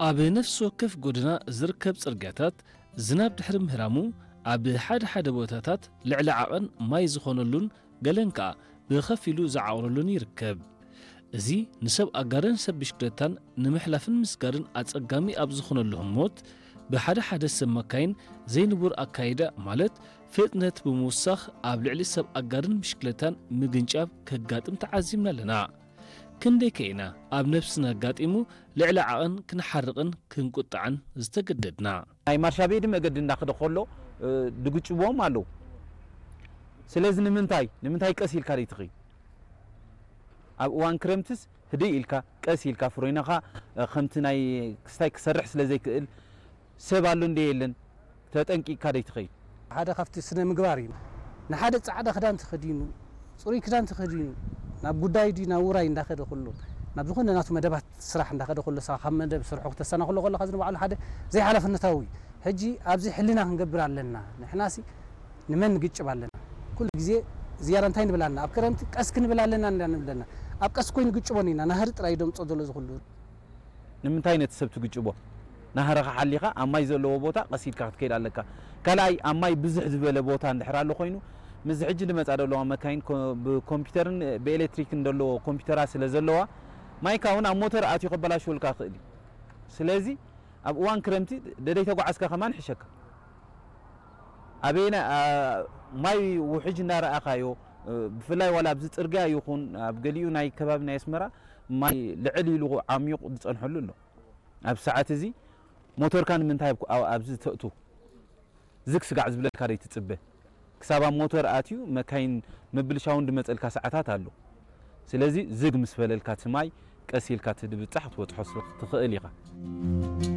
ኣብ ነፍሲ ወከፍ ጎደና ዝርከብ ጽርግያታት ዝናብ ድሕሪ ምህራሙ፣ ኣብ ሓደ ሓደ ቦታታት ልዕሊ ዓቐን ማይ ዝኾነሉን ገለን ከኣ ብኸፊሉ ዝዓቑረሉን ይርከብ። እዚ ንሰብ ኣጋርን ሰብ ብሽክለታን ንምሕላፍን ምስጋርን ኣጸጋሚ ኣብ ዝኾነሉ ህሞት፣ ብሓደ ሓደ ሰብ መካይን ዘይንቡር ኣካይዳ፣ ማለት ፍጥነት ብምውሳኽ ኣብ ልዕሊ ሰብ ኣጋርን ብሽክለታን ምግንጫብ ከጋጥም ተዓዚብና ኣለና። ክንደይ ከ ኢና ኣብ ነብስና ኣጋጢሙ ልዕሊ ዓቐን ክንሓርቕን ክንቁጣዕን ዝተገደድና? ናይ ማርሻ ቤዲ መገዲ እንዳኸደ ከሎ፣ እ፣ ድግጭዎም ኣለዉ። ስለዚ ንምንታይ፣ ንምንታይ ቀስ ኢልካ ደይትኸይድ? ኣብ እዋን ክረምትስ ህድእ ኢልካ፣ ቀስ ኢልካ ፍሬናኻ፣ እ፣ ከምቲ ናይ ክስታይ ክሰርሕ ስለ ዘይክእል፣ ሰብ ኣሎ እንደ የለን፣ ተጠንቂቕካ ደይትኸይድ? ሓደ ካብቲ ስነ ምግባር እዩ። ንሓደ ጻዕዳ ክዳን ተኸዲኑ፣ ጽሩይ ክዳን ተኸዲኑ፣ ናብ ጉዳይ ድዩ ናብ ውራይ እንዳኸደ ከሎ፣ ናብ ዝኾነ ናቱ መደባት ስራሕ እንዳኸደ ከሎ፣ ንስኻ ካብ መደብ ስርሑ ክተሰናኽሎ ከለኻ፣ እዚ ንባዕሉ ሓደ ዘይሓላፍነታዊ እዩ። ሕጂ ኣብዚ ሕልና ክንገብር ኣለና። ንሕናሲ ንመን ንግጭብ ኣለና? ኩሉ ግዜ ዝያዳ እንታይ ንብል ኣለና? ኣብ ክረምቲ ቀስ ክንብል ኣለና እንዳ ንብል ኣለና። ኣብ ቀስ ኮይኑ ግጭቦ ኢና። ናህሪ ጥራይ ደምጾ ዘሎ እዚ ኩሉ። ንምንታይ ነቲ ሰብ ትግጭቦ? ናህርኻ ሓሊኻ ኣብ ማይ ዘለዎ ቦታ ቀስ ኢልካ ክትከይድ ኣለካ። ካልኣይ፣ ኣብ ማይ ብዝሕ ዝበለ ቦታ እንድሕር ኣሎ ኮይኑ፣ ምስዚ ሕጂ ዝመጻ ዘለዋ መካይን ኮ-፣ ብኮምፒውተርን ብኤሌክትሪክን ዘለዎ ኮምፒውተራት ስለ ዘለዋ፣ ማይካ እውን ኣብ ሞተር ኣትዩ ከበላሽወልካ ይኽእል እዩ። ስለዚ ኣብ እዋን ክረምቲ ደደይ ተጓዓዝካ ከማን ይሕሸካ። ኣበየና፣ ኣ፣ ማይ ውሕጅ እናረኣኻዮ፣ እ፣ ብፍላይ ዋላ ኣብዚ ጽርግያ ይኹን ኣብ ገሊኡ ናይ ከባቢ ናይ ኣስመራ ማይ ልዕል ኢሉ ዓሚቑ ዝጸንሐሉ ኣሎ። ኣብ ሰዓት እዚ ሞተርካ ንምንታይ ኣብ፣ ኣብ፣ ኣብዚ ተእቱ? ዝግ ስጋዕ ዝብለካ ደይትጽበ። ክሳብ ኣብ ሞተር ኣትዩ መካይን ምብልሻውን ድመጸልካ ሰዓታት ኣሎ። ስለዚ ዝግ ምስ በለልካ እቲ ማይ ቀስ ኢልካ እቲ ድብጻሕ ክትበጽሖ ስ-፣ ትኽእል ኢኻ።